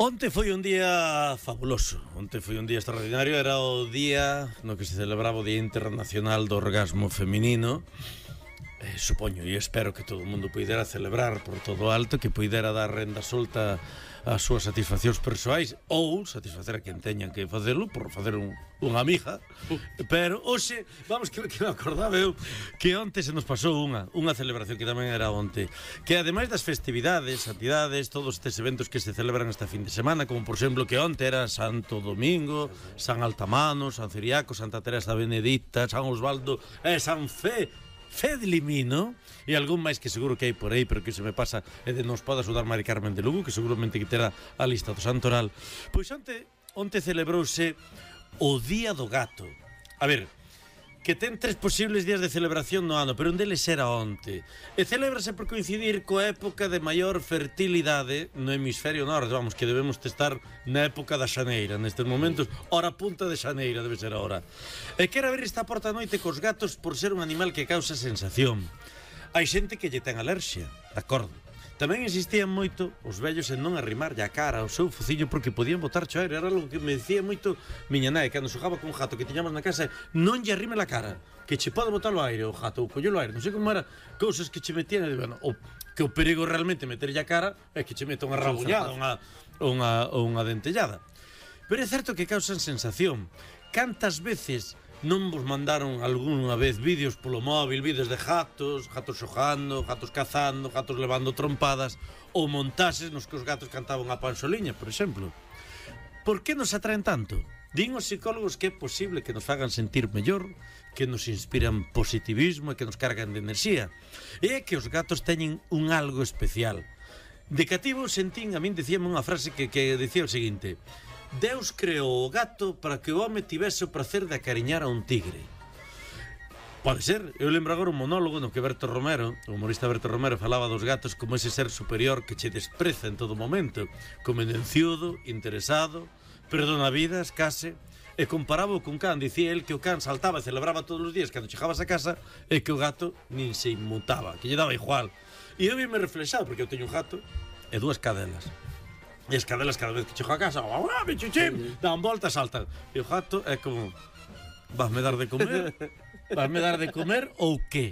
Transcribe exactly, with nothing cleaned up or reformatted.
Onte foi un día fabuloso, onte foi un día extraordinario, era o día no que se celebraba o Día Internacional do Orgasmo Feminino. Eh, supoño e espero que todo o mundo poidera celebrar por todo alto, que poidera dar renda solta ás súas satisfaccións persoais ou satisfacer a quen teñan que facelo por facer un, unha amiga. Pero hoxe, vamos, que, que me acordaba eu que onte se nos pasou unha unha celebración que tamén era onte, que ademais das festividades, actividades, todos estes eventos que se celebran esta fin de semana, como por exemplo que onte era Santo Domingo, San Altamano, San Ciriaco, Santa Teresa Benedicta, San Osvaldo e San Fe Fedlimino, e algún máis que seguro que hai por aí, pero que se me pasa e de nos poda axudar Mari Carmen de Lugo, que seguramente que terá a lista do Santoral. Pois onte, onte celebrouse o Día do Gato. A ver, que ten tres posibles días de celebración no ano, pero un deles era onte. E celébrase por coincidir coa época de maior fertilidade no hemisferio norte. Vamos, que debemos estar na época da xaneira, nestes momentos, hora punta de xaneira debe ser a hora. E quero abrir esta porta a noite cos gatos por ser un animal que causa sensación. Hai xente que lle ten alerxia, de acordo. Tamén insistían moito os vellos en non arrimarlle a cara ao seu fociño porque podían botar cho aire. Era algo que me decía moito miña nai cando xogaba con un gato que tiñamos na casa: non lle arrime la cara, que che pode botar o aire o gato, ou collelo aire, non sei como era, cousas que che metían, e, bueno, o, que o perigo realmente meterlle a cara é que che meta unha rabuñada, unha, unha, unha dentellada. Pero é certo que causan sensación. Cantas veces non vos mandaron algunha vez vídeos polo móvil, vídeos de gatos, gatos xogando, gatos cazando, gatos levando trompadas, ou montases nos que os gatos cantaban a panxoliña, por exemplo? Por que nos atraen tanto? Din os psicólogos que é posible que nos fagan sentir mellor, que nos inspiran positivismo e que nos cargan de enerxía. E é que os gatos teñen un algo especial. De cativo sentín, a min dicíame unha frase que, que dicía o seguinte: Deus creou o gato para que o home tivese o prazer de acariñar a un tigre. Pode ser. Eu lembro agora un monólogo no que Berto Romero, o humorista Berto Romero, falaba dos gatos como ese ser superior que che despreza en todo momento, convenenciudo, interesado, perdona vidas, case, e comparaba o cun can. Dicía el que o can saltaba e celebraba todos os días cando chegabas a casa, e que o gato nin se inmutaba, que lle daba igual. E eu vi me reflexado, porque eu teño un gato e dúas cadelas. E as cadelas cada vez que chego a casa, ¡ah, bichuchín! Dan voltas, saltan. E o gato é como: vas me dar de comer? Vas me dar de comer ou que?